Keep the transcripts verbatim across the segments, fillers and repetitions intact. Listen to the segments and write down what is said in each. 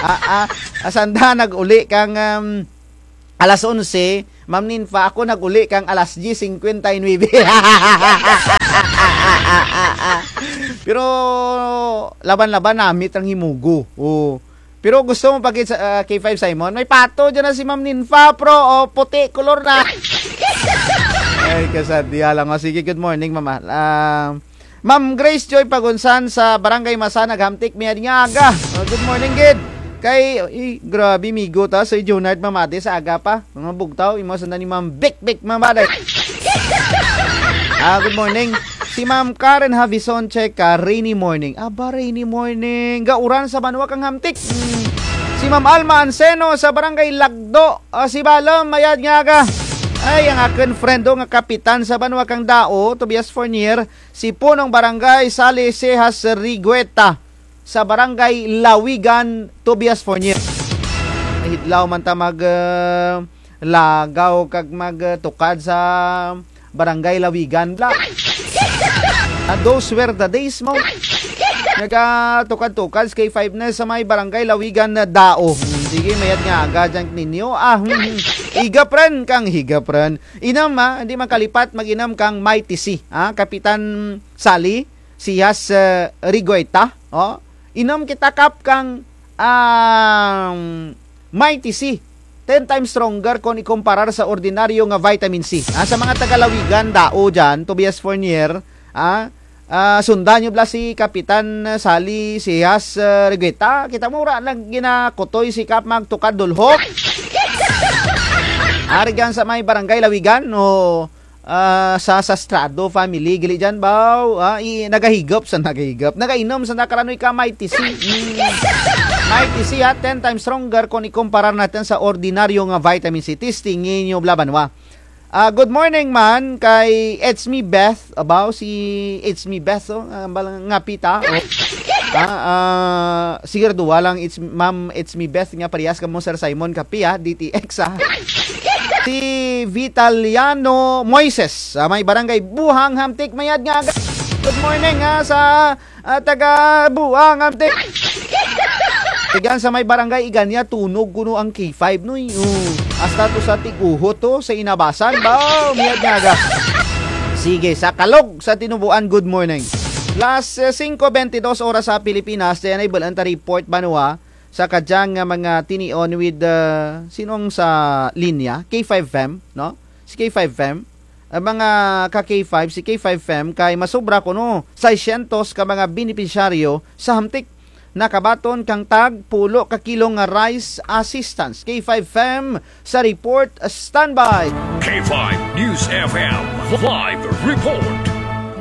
Ah, ah, ah, sanda nag-uli kang, um, alas onse, Ma'am Ninfa, ako nag-uli kang alas diyes singkwenta y nuwebe. Pero laban-laban namit ang himugo. Oh. Pero gusto mo pa gid sa, ah, K five Simon? May pato dyan na si Ma'am Ninfa, pro. Oh, puti kolor na. Ay, kasadya lang. Oh, sige, good morning, mama. Ah, Ma'am Grace Joy Pagunsan sa Barangay Masanag, Hamtic, mayad nga aga. Oh, good morning, gid. Kay, eh, grabe, migo ta, si Junard Mamade sa aga pa. Mga bugtaw, imo sanda ni Ma'am Bik Bik Mamade. Ah, good morning. Si Ma'am Karen Havison, check ka, rainy morning. Aba, rainy morning. Gauran sa banwa kang Hamtic. Hmm. Si Ma'am Alma Anseno sa Barangay Lagdo. Ah, si Balom, mayad nga aga. Ay, ang akun friend, oh, nga kapitan sa banwa kang Dao, Tobias Fornier, si punong barangay Sali Cejas Rigueta, sa barangay Lawigan, Tobias Fornier. Hidlaw man ta mag, ah, lagaw kag mag, ah, tukad sa barangay Lawigan bala. Ah, those were the days mo. Nagatukad-tukad sa K five na sa may barangay Lawigan na Dao. Hmm, sige, mayad nga aga dyan ninyo. Ah, hmm, hmm. Higap run kang higap run. Inum, ah, hindi man kalipat mag-inum kang Mighty C. Ah, Kapitan Sali, Cejas, eh, Rigueta. Oh, inum kita kap kang, um, Mighty C. Ten times stronger kon ikumparar sa ordinaryo nga vitamin C. Ah, sa mga taga Lawigan, Dao dyan, Tobias Fornier, ah, ah, sundan nyo bala si Kapitan Sali Cejas, eh, Rigueta. Kita mo, wara lang ginakutoy si Kap magtukad dulhok. Ari dyan sa may barangay Lawigan, o, ah, sa, sa Sastrado family, gali dyan, baw. Ah, i-, nagahigop sa nagahigop. Nagainum sa nakaranoy ka Mighty C. Mm. Mighty C, ha, ten times stronger kon ikumparar natun sa ordinaryo nga vitamin C. Testingi nyo bala banwa. Ah, good morning man kay It's Me Beth. Abaw, si It's Me Beth, oh, ah, bala nga pita, oh. Ah, ah, sigurado lang, it's, Ma'am It's Me Beth nga parehas kamo Sir Simon Kapia, D T X, ah. Si Vitaliano Moises, sa may barangay Buhang, Hamtic, mayad nga aga. Good morning, ha, sa, ah, taga Buhang, Hamtic. Tigan sa may barangay Iganya, tunog kuno ang K five, noy. Oh, hasta to sa Tiguhot to, sa Inabasan. Baw, mayad nga aga. Sige, sa Calog, sa Tinubuan, good morning. Las, eh, singko bentidos oras sa Pilipinas, dyan ay bal-an ta report banwa, sa kadyang nga mga tinion with, uh, sin-o ang sa linya, K five F M, no? Si K five F M, ang mga ka K five, si K five F M kay masobra kuno, seiscientos ka mga benepisyaryo sa Hamtic nakabaton kang tag pulo ka kilo nga rice assistance. K five F M sa report, standby. K five News F M live report.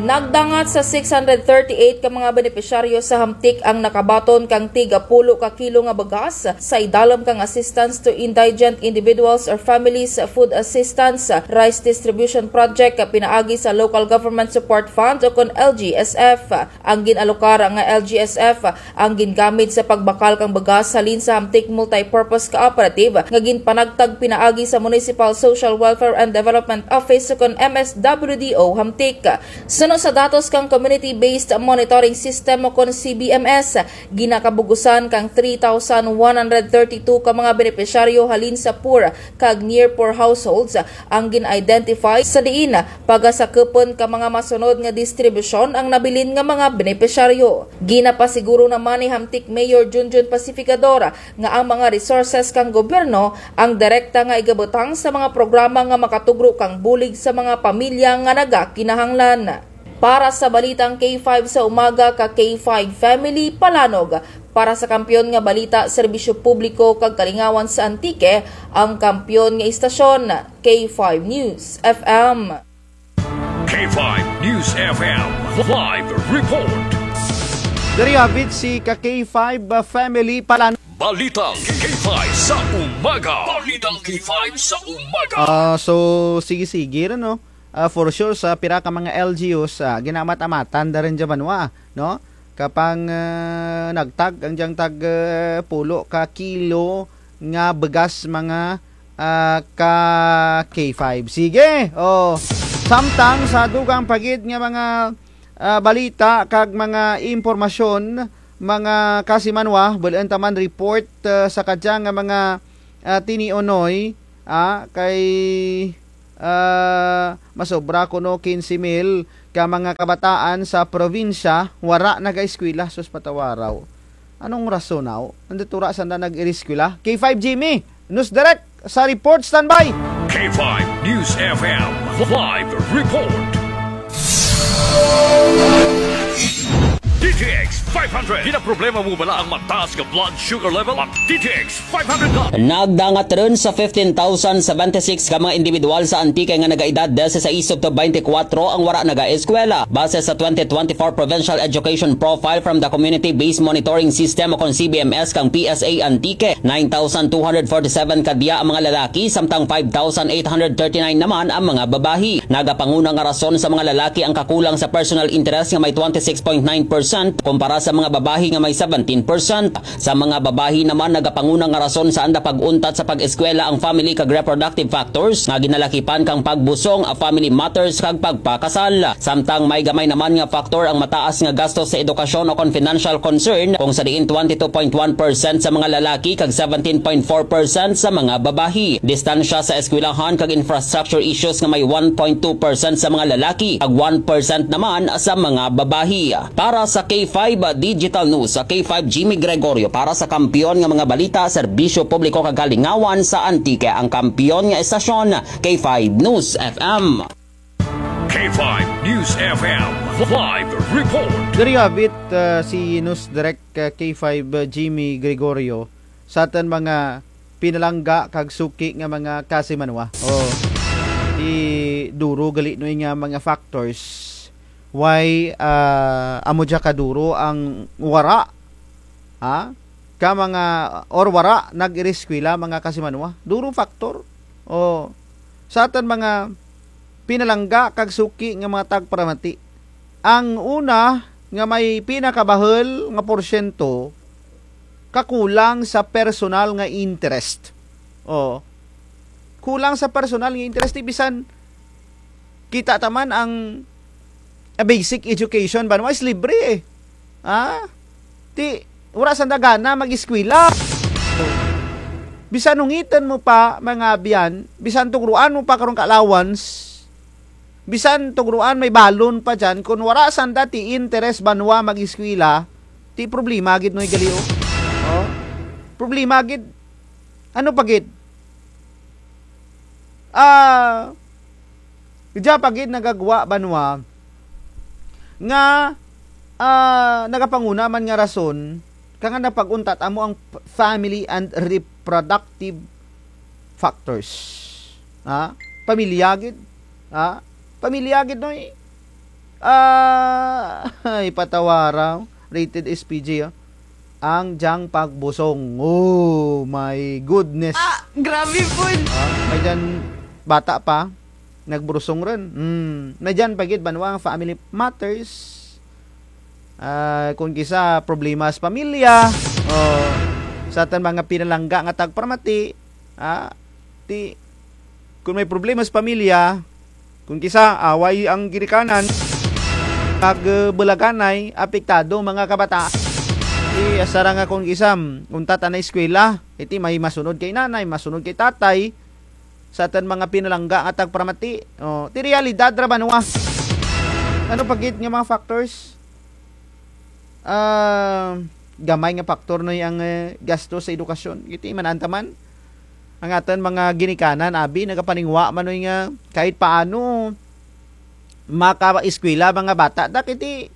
Nagdangat sa six hundred thirty-eight ka mga benepisyaryo sa Hamtic ang nakabaton kang tig pulo ka kilo nga bugas sa idalum kang Assistance to Indigent Individuals or Families Food Assistance Rice Distribution Project pinaagi sa Local Government Support Fund o kon L G S F. Ang gin-alokar nga L G S F ang gingamit sa pagbakal kang bugas halin sa Hamtic Multipurpose Cooperative nga ginpanagtag pinaagi sa Municipal Social Welfare and Development Office ukon M S W D O Hamtic. Suno sa datos kang Community Based Monitoring System ukon C B M S, ginakabugusan kang three thousand one hundred thirty-two ka mga benepisyaryo halin sa poor kag near poor households ang gin-identify, sa diin pagasakupun ka mga masunod nga distribusyon ang nabilin nga mga benepisyaryo. Ginapasiguro naman ni Hamtic Mayor Junjun Pacificador nga ang mga resources kang gobyerno ang direkta nga igabutang sa mga programa nga makatugro kang bulig sa mga pamilya nga nagakinahanglan. Para sa Balitang K five sa Umaga ka K five Family, Palanog, para sa kampiyon nga balita, serbisyo publiko kag kalingawan sa Antique, ang kampiyon nga istasyon, K five News F M. K five News F M live report. Diri hapit si ka K five, ah, Family, Palanog. Balitang K five sa Umaga. Balitang K five sa Umaga. Ah, so, sige-sige ra, no? Ah, for sure, sa pira ka mga L G Us, ah, ginamat-amatan da run dya banwa, no? Kapang, ah, nagtag, ang dyang tag, ah, pulo ka kilo nga bugas mga, ah, ka K five. Sige, oh. Samtang sa dugang pa gid nga mga, ah, balita kag mga impormasyon, mga kasimanwa, bul-un ta man report, ah, sa kadya nga mga, ah, tiniunoy, ah, kay, ah, masobra kuno kinse mil ka mga kabataan sa probinsya wara nagaeskwela, sus, patawaraw. Anong rason, aw? Indi tura sanda nag-iriskwela? K five Jimmy, News Direct sa report, standby. K five News F M live report. D T X five hundred. Ginaproblema mo bala ang mataas nga blood sugar level? Mag D T X five hundred ka. Nagdangat run sa fifteen thousand seventy-six ka mga indibidwal sa Antique nga nagaedad dise sais to baynte kwatro ang wara nagaeskwela. Base sa twenty twenty-four Provincial Education Profile from the Community-Based Monitoring System o kon C B M S kang P S A Antique, nine thousand two hundred forty-seven kadya ang mga lalaki, samtang five thousand eight hundred thirty-nine naman ang mga babayi. Nagapanguna nga rason sa mga lalaki ang kakulang sa personal interest nga may twenty-six point nine percent, kumpara sa mga babayi nga may seventeen percent. Sa mga babayi naman, nagapanguna nga rason sa anda pag-untat sa pag-eskwela ang family kag reproductive factors nga ginalakipan kang pagbusong, family matters kag pagpakasal. Samtang may gamay naman nga factor ang mataas nga gasto sa edukasyon o kon financial concern, kung sa diin twenty-two point one percent sa mga lalaki kag seventeen point four percent sa mga babayi. Distansya sa eskwelahan kag infrastructure issues nga may one point two percent sa mga lalaki kag one percent naman sa mga babayi. Para sa K five Digital News, sa K five Jimmy Gregorio, para sa kampiyon nga mga balita, serbisyo publiko kag kalingawan sa Antique, ang kampiyon nga estasyon, K five News F M. K five News F M live report. Diri abit, ah, si News Direct, ah, K five, ah, Jimmy Gregorio, sa atun mga pinalangga kag suki nga mga kasimanwa. O, ti duro gali noy nga mga factors. Why, ah, amo dya kaduro ang wara, ha? Ka mga, or wara nag-iriskwela, mga kasimanwa. Duro factor. O, sa atun mga pinalangga kag suki nga mga tagparamati. Ang una nga may pinakabahul nga porsyento, kakulang sa personal nga interest. O. Kulang sa personal nga interest, ti bisan kita ta man ang, ah, basic education banwa is libre, eh. Ha? Ti, wara sanda gana mag-eskwela. Bisan hungitun mo pa, mga abyan, bisan tugroan mo pa karon ka allowance, bisan tugroan may balon pa dyan, kon wara sanda ti interest banwa mag-eskwela, ti problema gid noy gali, o. O? Problema gid. Ano pa gid? Ah, dya pa gid nagagwa banwa nga, ah, nagapanguna man nga rason, kang anda pag-untat amo ang p-, family and reproductive factors. Ha? Pamilya gid. Ha? Pamilya gid, noy. Ah, ay, patawara, rated S P G, ah. Ang dyang pagbusong. Oh my goodness. Ah, grabe pud. Ah, may dyan bata pa, nagburusong run. Hmm, may dyan pa gid banwa ang family matters. Ah, kon kis-a problema sa pamilya, o, sa atun mga pinalangga nga tagparamati, ah, ti, kon may problema sa pamilya, kon kis-a away ang ginikanan, kag, eh, bulaganay, apektado mga kabataan. Ti, asya ra nga kon kis-a, mm, untat anay eskwela, iti may masunod kay nanay, masunod kay tatay, sa atun mga pinalangga nga tagparamati. O, ti realidad ra banwa. Ano pa gid nga mga factors? Ah, gamay nga faktor noy ang, eh, gasto sa edukasyon. Iti man-an ta man. Ang atun mga ginikanan, abi, nagapaningwa man noy nga kahit paano makaeskwela mga bata. Dak iti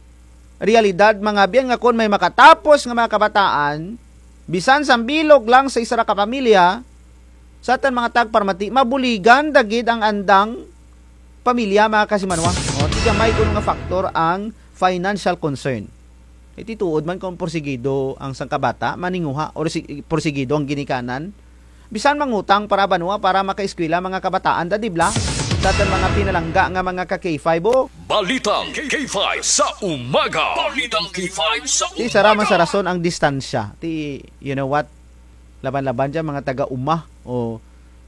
realidad, mga abyan, nga kon may makatapos nga mga kabataan, bisan sambilog lang sa isara ka pamilya, sa atun mga tagparamati, mabuligan da gid ang andang pamilya, mga kasimanwa. O, ti gamay kuno nga faktor ang financial concern. Iti tuod man kon porsigido ang sangka bata, maninguha, or si-, porsigido ang ginikanan. Bisan mangutang para banwa, para makaeskwela mga kabataan, da, di bala? Sa atun mga pinalangga nga mga ka K five, o. Balitang K five sa umaga. Balitang K five sa umaga. Ti, sara man sa rason ang distansya. Ti, you know what? Laban-laban dyan, mga taga-uma. O,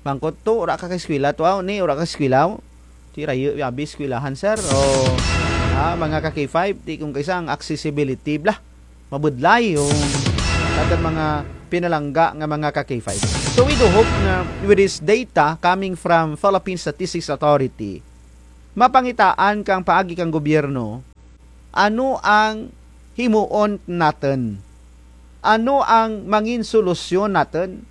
mangkot to, wara ka kaeskwela to, aw, ni, wara ka eskwela, aw. Ti rayo, abi eskwelahan, sir. O, ah, mga ka K five, ti kon kis-a ang accessibility bala. mabudlay o sa atun mga pinalangga nga mga ka-K five. So we do hope nga with this data coming from Philippine Statistics Authority, mapangitaan kang paagi kang gobyerno, ano ang himuon natun? Ano ang mangin solusyon natun?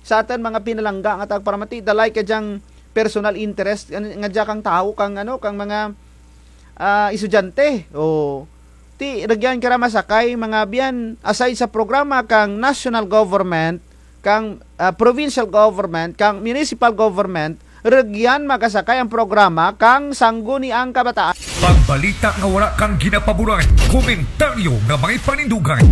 Sa atun mga pinalangga nga tagparamati, dalay ka dyang personal interest nga, nga dya kang tawo, kang ano, kang mga, ah, estudyante. O, ti, rugyan kara masakay, mga abyan, aside sa programa kang national government, kang, ah, provincial government, kang municipal government, rugyan makasakay ang programa kang Sangguniang Kabataan. Pagbalita nga wara kang ginapaboran, komentaryo nga may panindugan.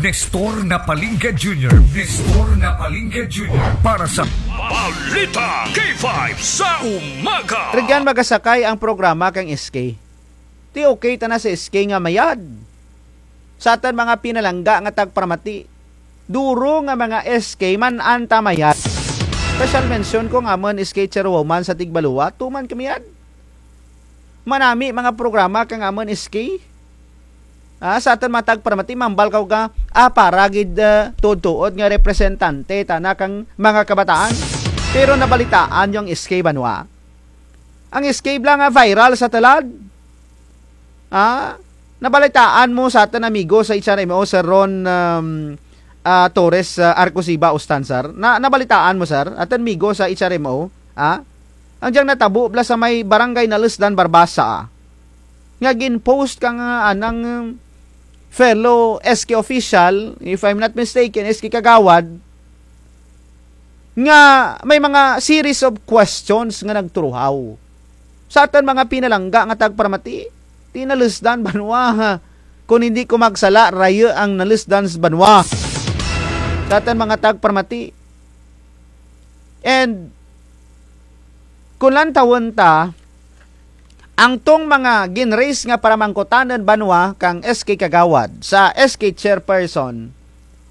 Nestor Napalinga Junior, Nestor Napalinga Junior para sa Balita K five sa umaga. Rugyan makasakay ang programa kang S K. Ti okay tana sa S K nga mayad. Sa atun mga pinalangga nga tagparamati, duro nga mga S K man-an ta mayad. Special mention ko nga amun S K chairwoman sa Tigbaluwa, tuman ka mayad. Manami mga programa kang amun S K. Ah, sa atun mga tagparamati, mambal kaw nga, ah, para gid, ah, tuod-tuod nga representante tana kang mga kabataan. Pero nabalitaan n'yo ang S K banwa? Ang S K bala nga viral sa tulad. Ah, nabalitaan mo sa atun amigo sa H R M O, Sir Ron, um, ah, Torres, ah, Arcosiba Ustan, sir? Na, nabalitaan mo, sir? Atun amigo sa H R M O, ah? Ang dyang natabo bala sa may barangay Nalusdan, Barbaza, ah, nga gin-post kang, ah, anang, um, fellow S K official, if I'm not mistaken, S K Kagawad, nga may mga series of questions nga nagturuhaw. Sa atun mga pinalangga nga tagparamati, ti Nalusdan banwa, ha? Kon indi ko magsala, rayo ang Nalusdan banwa. Sa atun mga tagparamati. And kon lantawun ta, ang tong mga gin-raise nga paramangkutanun banwa kang S K Kagawad sa S K chairperson,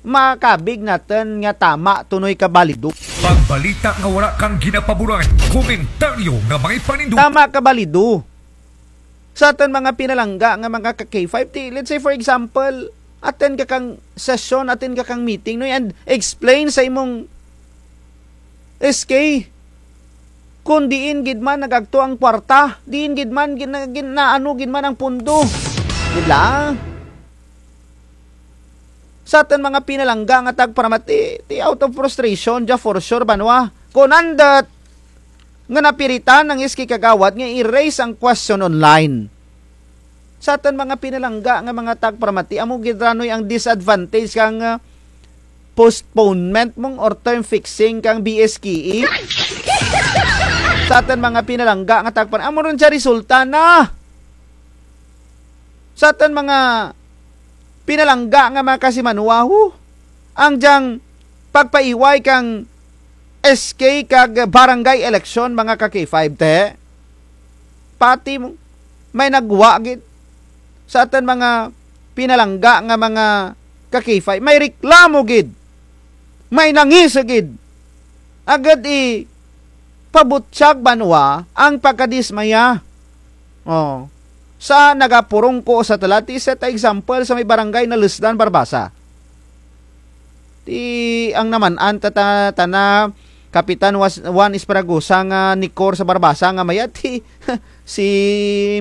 makabig natun nga tama tunoy ka balido. Pagbalita nga wara kang ginapaboran, komentaryo nga may panindugan. Tama ka balido. Sa atun mga pinalangga nga mga ka-K five, ti, let's say for example, attend ka kang session, attend ka kang meeting, no, and explain sa imong S K. Kon diin gid man nagagto ang kwarta, diin gid man gin-, gin-, naano gid man ang pondo. Di bala? Sa atun mga pinalangga nga tagparamati, ti out of frustration, dya for sure, banwa. Kon andut nga napiritan ang S K Kagawad nga i-raise ang question online. Sa atun mga pinalangga nga mga tagparamati, amo gid ra noy ang disadvantage kang, ah, postponement mong or term fixing kang B S K E. Sa atun mga pinalangga nga tagparamati, amo run dya resulta na. Sa atun mga pinalangga nga mga kasimanwa, ho, ang dyang pagpaiway kang S K kag barangay election, mga ka-K five, te. Pati mo, may nagwa gid. Sa atun mga pinalangga nga mga ka-K five, may reklamo gid. May nangis gid. Agud i pabutyag banwa ang pagkadismaya. O, sa nagapurungko sa tulad, ti set example sa may barangay Nalusdan, Barbaza. Ti ang naman-an ta, ta, tana Kapitan Was-, Juan Esperagosa nga Nicor sa Barbaza nga mayad, ti si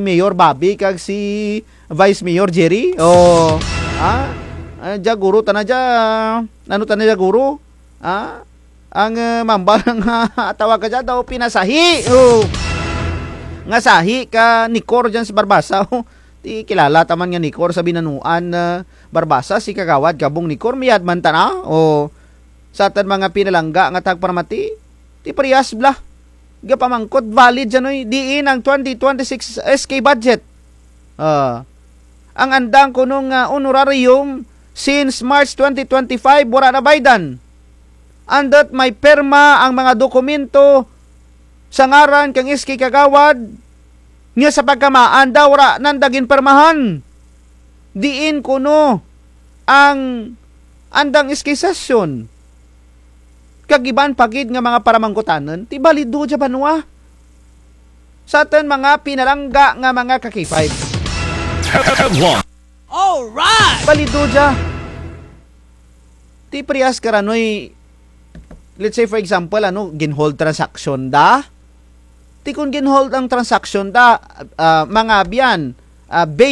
Mayor Bobby kag si Vice Mayor Jerry. O, ah, ah, dya guro tana dya, ano tana dya guro? Ah, ang, eh, mambal nga tawag ka dya daw pinasahi. O. Nga sahi ka Nicor dyan sa Barbaza. O, ti kilala ta man nga Nicor sa binanuan, eh, Barbaza, si Kagawad Gabong Nicor, mayad man tana. O, sa atun mga pinalangga nga tagparamati, ti parehas bala. Gapamangkot, valid dyan, oy, diin ang twenty twenty-six S K budget. Ah, ang andang kuno nga honorarium since March twenty twenty-five, wara nabaydan. Andut may pirma ang mga dokumento sa ngaran kang S K Kagawad, nga sa pagkamaan daw wara nanda ginpirmahan. Diin kuno ang andang S K session. Kag iban pa gid nga mga paramangkutanun, ti balido dya banwa. Sa atun mga pinalangga nga mga ka-K five. Headline. Alright! Balido dya. Ti parehas karanoy, let's say for example, ano, gin-hold transaction da. Ti kon gin-hold ang transaction da, ah, mga abyan, ah, based